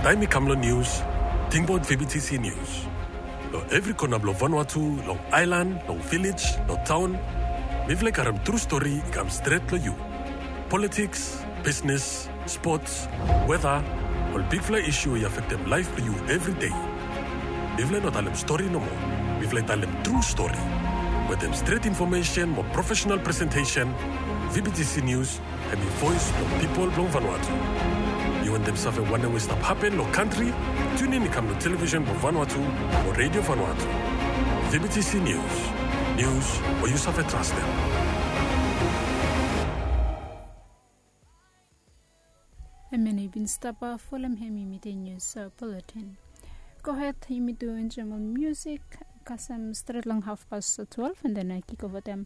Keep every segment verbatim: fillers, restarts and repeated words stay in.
Taem i kam long nius, tingbaot V B T C Nius. Long evri kona blong Vanuatu, long aelan, long vilej, long taon, mifala i karem tru stori i kam stret long yu. Politiks, bisnes, spots, weta, ol bigfala isu we i afektem laef blong yu evri dei. Mifala i no talem stori nomo. Mifala i talem tru stori. Wetem stret infomesen mo profesenal presentesen, V B T C Nius hemi voes blong pipol blong Vanuatu. Yu wantem save wanem we i stap hapen long kantri? Tiunin i kam long televisen blong Vanuatu mo Redio Vanuatu. V B T C Nius. Nius we yu save trastem. Hemia nao i bin stap, a, folem hemi miten nius, a, buletin. Gohed, yumi tu enjoem ol musik kasem stret long hafpas twelef, and then, a, kikovatem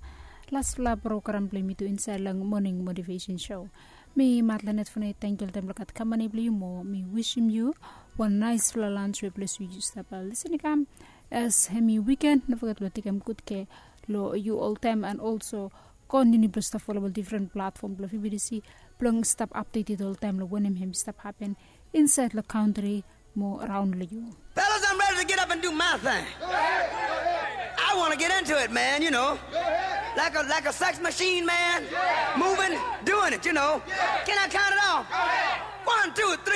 lasfala program blong yumi tu insaed long moning motivesen sou. Mi Matlanet Fune, tangkiu oltaem blong gat kampani blong yu mo mi wisim yu wan naesfala lans we ples we yu stap, a, lisin i kam. As hemi wiken, no foget blong tekem gud kea long yu oltaem, and also kontiniu blong stap folem ol difren platfom blong V B T C blong stap apdeted oltaem long wanem hemi stap hapen insaed long kantri mo raon long yu. Fellas, I'm ready to get up and do my thing. I want to get into it, man, you know. Like a, like a sex machine, man. Moving, doing it, you know. Can I count it off? One, two, three.